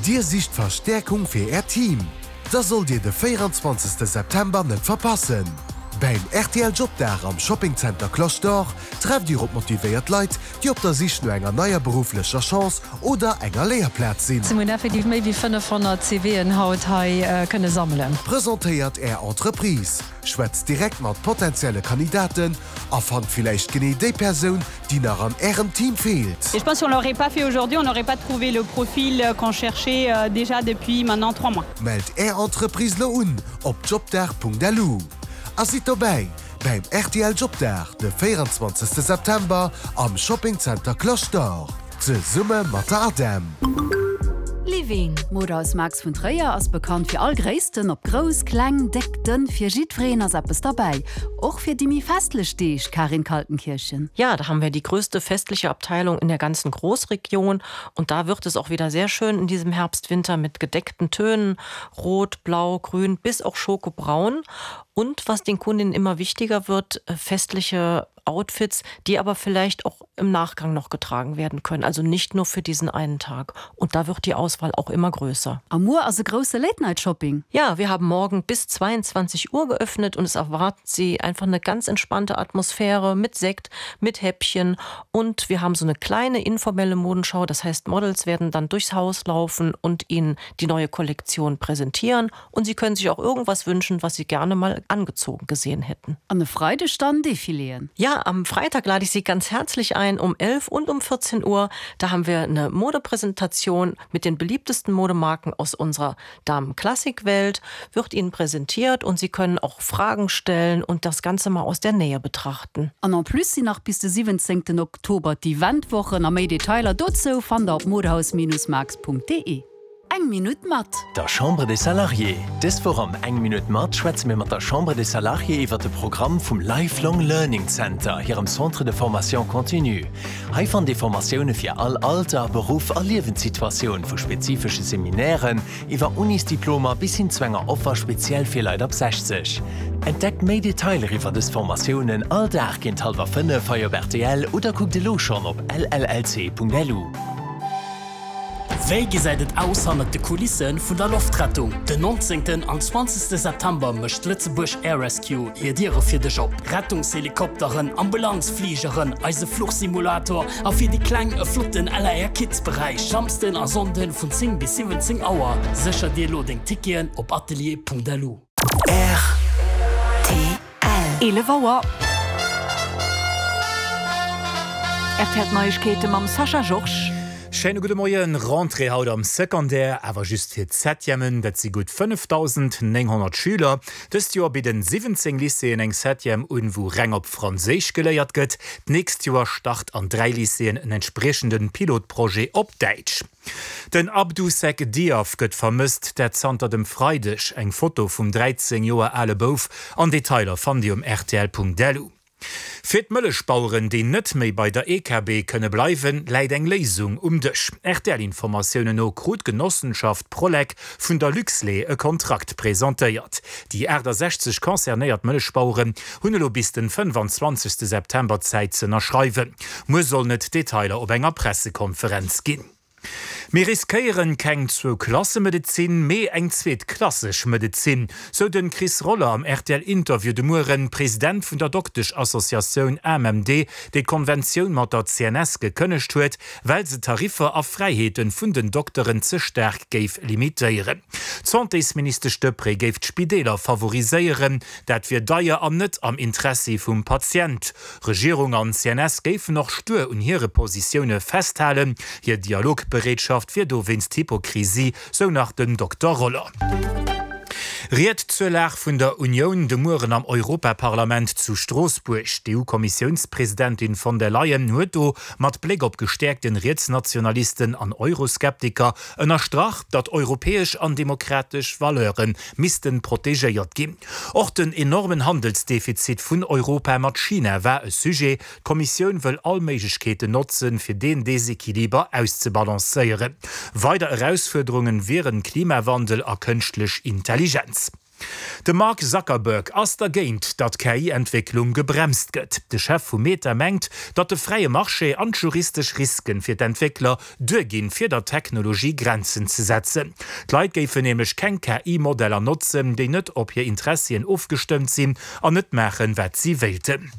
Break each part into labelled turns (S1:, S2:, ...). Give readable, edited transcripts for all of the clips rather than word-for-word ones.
S1: Dir sicht Verstäerkung fir Äert Team? Da sollt Dir de 24 September net verpassen! Bäim rtl Jobdag am Shopping Center Cloche d'Or trefft Dir op motivéiert Leit, déi op der Sich no enger neier berufflecher Chance oder enger Léierplaz sinn.
S2: Mir hunn effektiv méi wéi 500 CVen haut hei kënne sammelen.
S1: Presentéiert Är Entreprise, schwätzt direkt mat potenzielle Kandidaten a fannt villäicht genee déi Persoun, déi nach an Ärem Team feelt.
S3: Et je pense si on l'aurait pas fait aujourd'hui, on n'aurait pas trouvé le profil qu'on cherchait déjà depuis maintenant 3 mois.
S1: Mellt Är Entreprise lo un op jobdag.lu a sidd dobäi bäim rtl Jobdag de 24 September am Shopping Center Cloche d'Or zesumme mat der ADEM.
S4: Living, D'Modehaus Max vun Tréier ass bekannt fir all Gréissten, ob grouss, kleng, déck, dënn, fir jiddwereen ass eppes derbäi. Och fir déi méi festlech Deeg, Karin Kaltenkirchen.
S5: Ja, da haben wir die größte festliche Abteilung in der ganzen Großregion und da wird es auch wieder sehr schön in diesem Herbst, Winter mit gedeckten Tönen, rot, blau, grün bis auch schokobraun und was den Kundinnen immer wichtiger wird, festliche Outfits, die aber vielleicht auch im Nachgang noch getragen werden können, also nicht nur für diesen einen Tag. Und da wird die Auswahl auch immer größer.
S4: A muer ass e grousse Late Night Shopping.
S5: Ja, wir haben morgen bis 22 Uhr geöffnet und es erwartet Sie einfach eine ganz entspannte Atmosphäre mit Sekt, mit Häppchen und wir haben so eine kleine informelle Modenschau, das heißt Models werden dann durchs Haus laufen und Ihnen die neue Kollektion präsentieren und Sie können sich auch irgendwas wünschen, was Sie gerne mal angezogen gesehen hätten.
S4: An e Freideg dann Defiléen.
S5: Ja, am Freitag lade ich Sie ganz herzlich ein um 11 und um 14 Uhr. Da haben wir eine Modepräsentation mit den beliebtesten Modemarken aus unserer Damenklassikwelt wird Ihnen präsentiert und Sie können auch Fragen stellen und das Ganze mal aus der Nähe betrachten.
S4: An en plus sinn nach bis de 17 Oktober d'Eventwochen a méi Detailer dozou fannt der op modehaus-marx.de. Eng Minutt mat.
S6: Der Chambre des Salariés. Dës Woch am Eng Minutt mat schwätze mir mat der Chambre des Salariés iwwer de Programm vum Lifelong Learning Center, hirem Centre de formation continue. Hei fannt Dir Formatioune fir all Alter, Beruff a Liewenssituatioun, vu spezifesche Seminairen iwwer Unisdiplomer bis hin zu enger Offer speziell fir Leit ab 60. Entdeckt méi Detailer iwwer dës Formatiounen all Dag géint hallwer 5 hei op rtl oder kuckt elo schonn op llc.lu.
S7: Wéi gesäit et aus hannert de Kulisse vun der Loftrettung? Den 19. an 20. September mécht d'Lëtzebuerg Air Rescue hir Diere fir dech op. Rettungshelikopteren, Ambulanzfligeren, eise Fluchsimulator a fir déi Kleng e flotten LAR Kids Beräich. Samsden a Sonnden vun 10 bis 17 Auer. Sécher dir elo deng Ticketen op atelier.lu.
S4: Rtl. 11 Auer. Rtl D'Neiegkeete mam Sascha Georges.
S8: Schéine gudde Moien. Rentrée haut am Secondaire, awer just fir d'Septièmen. Dat si gutt 5.900 Schüler. Dëst Joer bidden 17 Lycéeën eng Septième un, wou reng op Franséisch geléiert gëtt. D'nächst Joer start an 3 Lycéeën en entspriechende Pilotprojet op Däitsch. Den Abdou Seck Diaw gëtt vermësst, dat zanter dem Freideg. Eng Foto vum 13 Joer ale Bouf an Detailer fannt Dir um rtl.lu. Fir d'Mëllechbaueren, déi net méi bei der EKB kënne bleiwen, läit eng Léisung um Dësch. RTL-Informatiounen no krut d'Genossenschaft Prolec vun der Luxlait e Kontrakt presentéiert. Déi 68 concernéiert Mëllechbaueren hunn elo bis den 25 September Zäit z'ënnerschreiwen. Muer sollen et Detailer op enger Pressekonferenz ginn. Mir riskéieren keng Zwou-Klasse-Medezin, mee eng zweetklasseg Medezin, sou den Chris Roller am RTL-Interview de Mueren, President vun der Dokteschassociatioun AMMD, déi d'Konventioun mat der CNS gekënnegt huet, well se d'Tariffer a Fräiheeten vun den Dokteren ze staark géif limitéieren. D'Santésministesch Deprez géif d'Spideeler favoriséieren, dat wier deier an net am Interessi vum Patient. Regierung an CNS géifen och stuer un hire Positioune festhalen, hir Dialogbereetschaft wier dowéinst Hypokrisie, sou nach den Dokter Roller. Ried zur Lag vun der Unioun de Mueren am Europaparlament zu Stroossbuerg. D'EU-Kommissiounspresidentin von der Leyen huet do mat Bléck op gestäerkten Rietsnationalisten an Euroskeptiker ënnerstrach, datt europäesch an demokratesch Valeure missten protegéiert ginn. Och den enormen Handelsdefizit vun Europa mat China war e Sujet. D'Kommissioun wëll all Méiglechkeeten notzen, fir deen Desequiliber auszebalancéieren. Weider Erausfuerderungen wieren Klimawandel a kënschtlech Intelligenz. De Mark Zuckerberg ass dergéint, datt d'KI-Entwécklung gebremst gëtt. De Chef vu Meta mengt, datt de fräie Marché an d'juristesch Risken fir d'Entwéckler duerginn, fir der Technologie Grenzen ze setzen. D'Leit géifen nämlech keng KI-Modeller notzen, déi net op hir Interessien ofgestëmmt sinn an net maachen, wat si wéilten.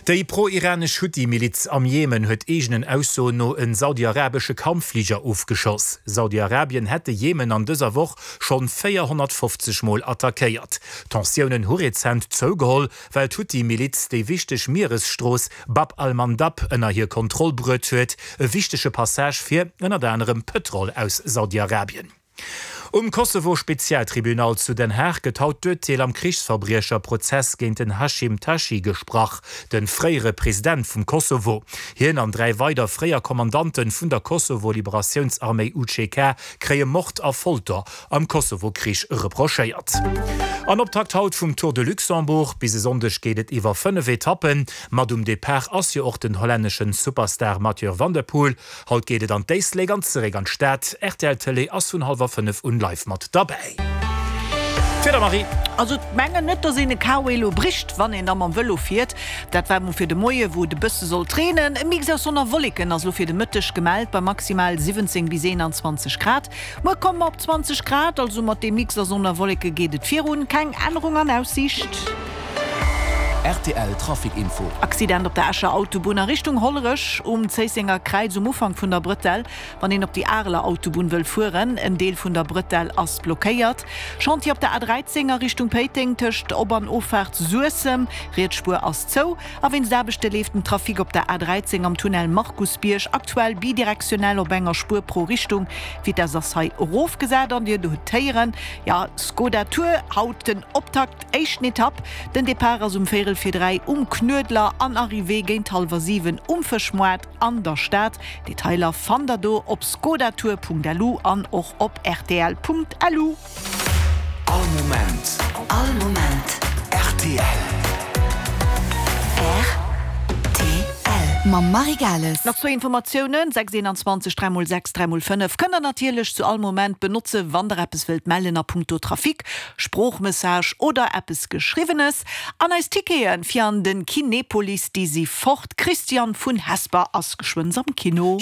S8: Déi pro-iranesch Huthi-Miliz am Jemen huet eegenen Aussoen no en saudi-arabesche Kampffliger ofgeschoss. Saudi-Arabien hätt de Jemen an dëser Woch schonn 450 Mol attackéiert. D'Tensiounen hu rezent zougeholl, well d'Huthi-Miliz déi wichteg Mieresstrooss Bab al-Mandab ënner hir Kontroll bruet huet, e wichtege Passage fir ënnert anerem Pëtrol aus Saudi-Arabien. Um Kosovo-Spezialtribunal zu Den Haag gëtt haut d'Urteel am Krichsverbriecherprozess géint den Hashim Thaçi gesprach, de fréiere President vum Kosovo. Hien an 3 weider fréier Kommandante vun der Kosovo-Liberatiounsarméi UCK kréie Mord a Folter am Kosovo-Krich reprochéiert. An Optakt haut vum Tour de Luxembourg. Bis e Sonndeg geet et iwwer 5 Etappen. Mat um Depart ass jo och den hollänneschen Superstar Mathieu van der Poel. Haut geet et an d'Éislek an zeréck an d'Stad. Rtl Tëlee ass vun hallwer 5 un live mat derbäi. D'Wieder, Marie.
S9: Also mengen net dass een e KW elo bricht wann een da mam Vëlo fiert. Dat war mol fir de Moie wou et e bësse sollt reenen. E Mix aus Sonn a Wolleken ass elo fir de Mëtteg gemellt bei maximal 17 bis 21 Grad. Muer komme mer op 20 Grad, also mat deem Mix a Sonn a Wolleke geet et virun. Keng Ännerung an Aussiicht.
S6: Rtl Trafic Info.
S9: Accident op der Escher Autobunn a Richtung Hollerech um Zéissenger Kräiz um Ufank vun der Brëtell, wann een op déi Areler Autobunn wëll fueren. En Deel vun der Brëtell ass blockéiert. Chantier op der A13 a Richtung Péiteng tëscht Op an Offaart Suessem, riets Spuer ass zou. A wéinst Aarbechte leeft den Trafic op der A13 am Tunnel Markusbierg aktuell bidirektionell op enger Spuer pro Richtung. D'Vitess ass hei erofgesat an Dir hutt héieren, jo, Skoda Tour, haut den Optakt, éischten Etapp. Den Depart ass um véierel vir 3 um Knuedler an Arrivée géint hallwer 7 um Fëschmoart an der Stad. Detailer fannt der do op skodatour.lu an och op rtl.lu.
S6: All Moment.
S4: All Moment.
S6: Rtl.
S4: Rtl. Mam Marie Gales.
S9: Nach zwou Informatiounen, 6 21 3 mol 6 3 mol 5 kënnt der natierlech zu all Moment benotze wann der eppes wëllt mellen a punkto Trafic, Sproochmessage oder eppes Geschriwwenes. An eis Tickete fir an den Kinepolis déi si fort. D'Christiane vun Hesper ass geschwënns am Kino.